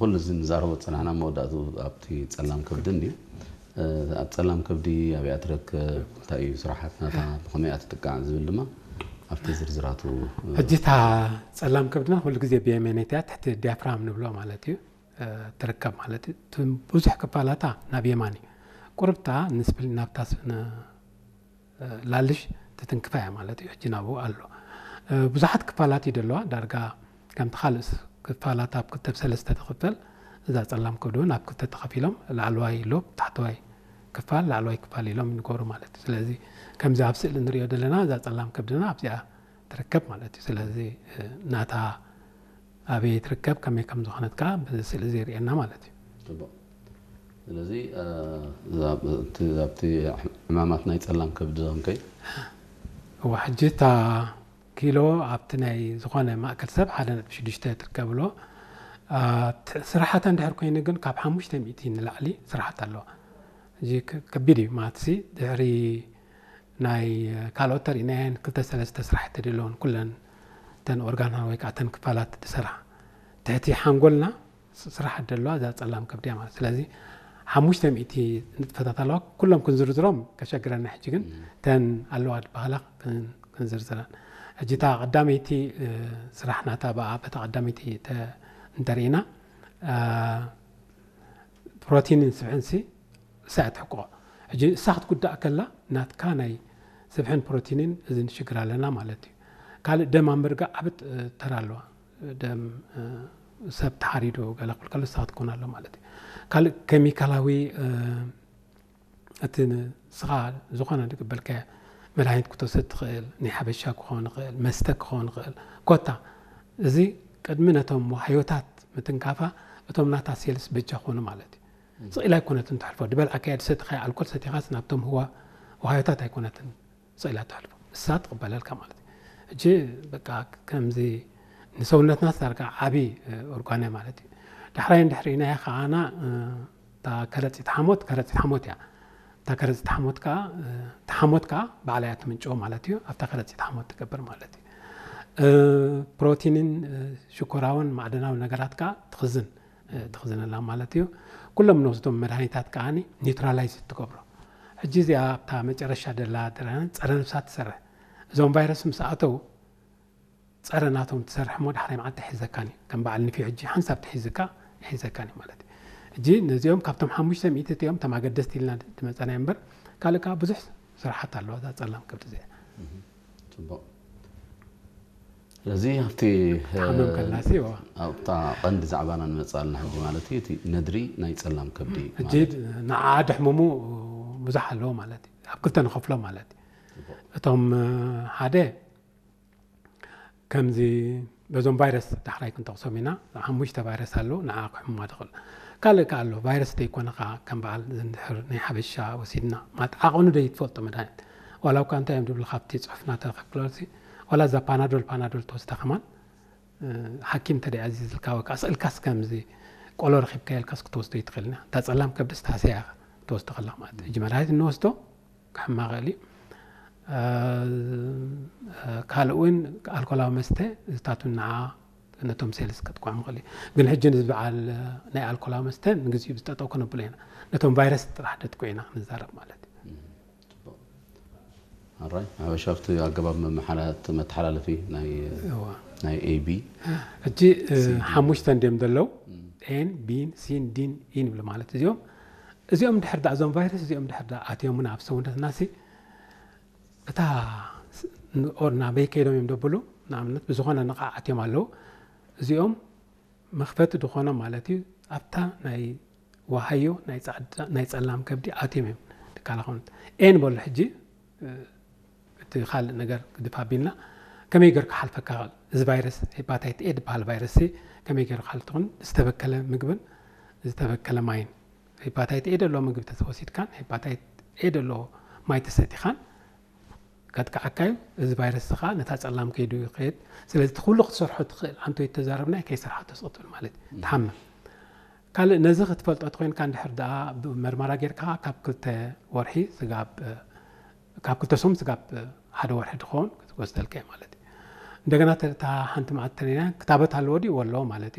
ኩሉ እዚ ንዛረቦ ዝጸናሕና መወዳእቱ ኣብቲ ጸላም ከብዲ እንድዩ። ኣብ ጸላም ከብዲ ኣበይ እያ ትረክብ፣ እንታይ እዩ ስራሓት ናታ፣ ብኸመይ እያ ትጥቃዕ ዝብል ድማ ኣብቲ ዝርዝራቱ። ሕጂ እታ ጸላም ከብድና ኩሉ ግዜ ብየመነይቲ እያ፣ ትሕቲ ዲያፍራም ንብሎ ማለት እዩ ትርከብ ማለት እዩ። ብዙሕ ክፋላታ ናብ የማን እዩ። ቁርብታ ንስፕል ናብታ ላልሽ ትትንክፋ እያ ማለት እዩ። ሕጂ ናብኡ ኣሎ። ብዙሓት ክፋላት እዩ ደለዋ። ዳርጋ ከምቲ ካልእ ክፋላት ኣብ ክልተ ብሰለስተ ትኽፈል፣ እዛ ጸላም ከብዲ እውን ኣብ ክልተ ተኸፊሎም ላዕለዋይ ሎብ፣ ታሕተዋይ ክፋል፣ ላዕለዋይ ክፋል ኢሎም ይንገሩ ማለት እዩ። ስለዚ ከምዚ ኣብ ስእሊ ንሪኦ ዘለና እዛ ጸላም ከብድና ኣብዚኣ ትርከብ ማለት እዩ። ስለዚ ናታ ኣበይ ትርከብ፣ ከመይ ከም ዝኾነት ከዓ ብስእሊ እዚ የርእየና ማለት እዩ። ጽቡቕ። ስለዚ ኣብቲ ዕማማት ናይ ጸላም ከብዲ ኸንከይ እዋ ሕጂ እታ ኪሎ ኣብቲ ናይ ዝኾነ ማእከል ሰብ ሓደ ነጥቢ ሽዱሽተ ትርከብሎ። ስራሓት እንድሕር ኮይኑ ግን ካብ ሓሙሽተ ሚእቲ ንላዕሊ ስራሓት ኣለዋ። እዚ ከቢድ እዩ ማትሲ። ድሕሪ ናይ ካልኦት ተርእናየን ክልተ ሰለስተ ስራሕቲ ድለውን ኩለን ተን ኦርጋና ወይ ከዓ ተን ክፋላት ድሰራ ትሕቲ ሓንጎልና ስራሕ ደለዋ እዛ ጸላም ከብድያ ማለት። ስለዚ ሓሙሽተ ሚእቲ ንጥፈታት ኣለዋ። ኩሎም ክንዝርዝሮም ከሸግረና ሕጂ ግን ተን ኣለዋ ዝበሃላ ክንዝርዝረን። ሕጂ እታ ቀዳመይቲ ስራሕ ናታ ብኣ በታ ቀዳመይቲ እንተርኢና ፕሮቲንን ስብሕንሲ እሳ እያ ትሕቆ። ሕጂ እሳ ክትጉዳእ ከላ ናትካ ናይ ስብሕን ፕሮቲንን እዚ ንሽግር ኣለና ማለት እዩ። ካልእ ደም ኣብ ምርጋእ ዓብት ተራ ኣለዋ። ደም ሰብ ተሓሪዱ ገለ ክብል ከሎ እሳ ክትኮን ኣሎ ማለት እዩ። ካልእ ኬሚካላዊ እቲ ንስኻ ዝኾነ ዝቅበልካዮ መድሃኒት ክትወስድ ትኽእል፣ ናይ ሓበሻ ክኸውን ይኽእል፣ መስተ ክኸውን ይኽእል። ኮታ እዚ ቅድሚ ነቶም ዋህዮታት ምትንካፋ እቶም ናታ ሴልስ በጃ ኮኑ ማለት እዩ። ስቕ ኢላ ኣይኮነትን ትሕልፎ። ዝበልዓካዮ ዝሰተኻዮ ኣልኮል ሰቲኻስ ናብቶም ህዋ ዋህዮታት ኣይኮነትን ስቕ ኢላ ትሕልፎ። እሳ ትቕበለልካ ማለት እዩ። ሕጂ በቃ ከምዚ ንሰውነትና ዳርጋ ዓቢ ኦርጋን እያ ማለት እዩ። ዳሕራይ እንድሕር ኢናዮ ከዓና እታ ከረጺት ሓሞት ከረጺት ሓሞት እያ። እታ ከረጺት ሓሞት ከዓ እቲ ሓሞት ከዓ ባዕላ እያ ትምንጭዎ ማለት እዩ። ኣብታ ከረጺት ሓሞት ትገብር ማለት እዩ። ፕሮቲንን ሽኮራውን ማዕደናዊ ነገራት ከዓ ትኽዝን ትኽዝነላ ማለት እዩ። ኩሎም ንወስዶም መድሃኒታት ከዓ ኒውትራላይዝ ትገብሮ። ሕጂ እዚኣ ኣብታ መጨረሻ ደላ ጸረ ነብሳት ትሰርሕ። እዞም ቫይረስ ምስ ኣተው ጸረ ናቶም ትሰርሕ እሞ ዳሕራይ መዓልቲ ይሕዘካን እዩ። ከም በዓል ንፊ ሕጂ ሓንሳብ ትሒዝካ ይሕዘካን እዩ ማለት እዩ። ሕጂ ነዚኦም ካብቶም ሓሙሽተ ሚእቲ እቲኦም እቶም ኣገደስቲ ኢልና ዝመጸና እምበር ካልእ ከዓ ብዙሕ ስራሓት ኣለዋ እዛ ጸላም ከብዲ እዚኣ። ጽቡቕ። ስለዚ ኣብቲ ሓመም ከላሲ ዋ ኣብታ ቀንዲ ዛዕባና ንመጽእ ኣለና ሕጂ ማለት እዩ። እቲ ነድሪ ናይ ጸላም ከብዲ ሕጂ ንዓ ድሕምሙ ብዙሕ ኣለዎ ማለት እዩ። ኣብ ክልተ ንኸፍሎ ማለት እዩ። እቶም ሓደ ከምዚ በዞም ቫይረስ ዳሕራይ ክንጠቕሶም ኢና። ሓሙሽተ ቫይረስ ኣለዉ ንዓ ክሕሙማ ትኽእል። ካልእ ከ ኣሎ ቫይረስ ዘይኮነ ከ ከም በዓል ዝንድሕር ናይ ሓበሻ ወሲድና ማለት ዓቐኑ ዶ ይትፈልጦ መድሃኒት ዋላ እኳ እንታይ እዮም ዝብሉ ካብቲ ፅሑፍ ናተረከብክለሲ ዋላ እዛ ፓናዶል ፓናዶል ተወስደ ከማን ሓኪም ተደይ ኣዚዝልካ ወይ ከዓ ስእልካስ ከምዚ ቆሎ ረኪብካ የልካስ ክትወስዶ ይትኽእልና እታ ፀላም ከብድስ ታሰያ ክትወስዶ ከለካ ማለት ሕጂ መድሃኒት እንወስዶ ክሕማ ኽእል እዩ። ካልእ እውን ኣልኮላዊ መስተ ዝታቱ ንዓ ነቶም ሴልስ ከጥቅዖም ኽእል እዩ። ግን ሕጂ ንዚ በዓል ናይ ኣልኮላዊ መስተ ንግዚኡ ዝጠጠው ከነብሎ ኢና። ነቶም ቫይረስ ጥራሕ ደጥቅዑ ኢና ክንዛረብ ማለት እዩ። ኣራይ ሓበሻ ኣብቲ ኣገባብ መመሓላለፊ ናይ ናይ ኤቢ ሕጂ ሓሙሽተ እንዲዮም ዘለዉ ኤን ቢን ሲን ዲን ኢን ይብሉ ማለት እዚኦም እዚኦም ድሕር ዳ እዞም ቫይረስ እዚኦም ድሕር ዳ ኣትዮምና ኣብ ሰውነትና ሲ እታ ኦር ናበይ ከይዶም እዮም ደብሉ ንኣብነት ብዝኾነ ንቓዕ ኣትዮም ኣለዉ እዚኦም መኽፈቲ ዝኾኖም ማለት እዩ ኣብታ ናይ ዋሃዮ ናይ ጸላም ከብዲ ኣትዮም እዮም ትካላኸውንት ኤን በሉ ሕጂ እቲ ካልእ ነገር ግድፍ ኣቢልና ከመይ ገይሩ ክሓልፈካ ይኽእል እዚ ቫይረስ ሄፓታይት ኤ ዝበሃል ቫይረስ ከመይ ገይሩ ክሓልፍ ትኾን ዝተበከለ ምግብን ዝተበከለ ማይን ሄፓታይት ኤ ደሎ ምግቢ ተወሲድካን ሄፓታይት ኤ ደሎ ማይ ተሰቲኻን ከጥቅዓካ እዩ እዚ ቫይረስ ከዓ ነታ ፀላም ከይዱ ይኸይድ ስለዚ እቲ ኩሉ ክትሰርሖ ትኽእል ኣንቶ ይተዛረብና ከይሰርሓ ተስቕጥብል ማለት እዩ ትሓምም ካልእ ነዚ ክትፈልጦ ተኮይንካ እንድሕር ደኣ መርመራ ጌርካ ካብ ክልተ ወርሒ ስጋብ ካብ ክልተ ሶም ስጋብ ሓደ ወርሒ ድኸውን ክትወስደልካ እዩ ማለት እዩ እንደገና እታ ሓንቲ መዓት ተነና ክታበት ኣለዎ ድዩ ኣለዎ ማለት እዩ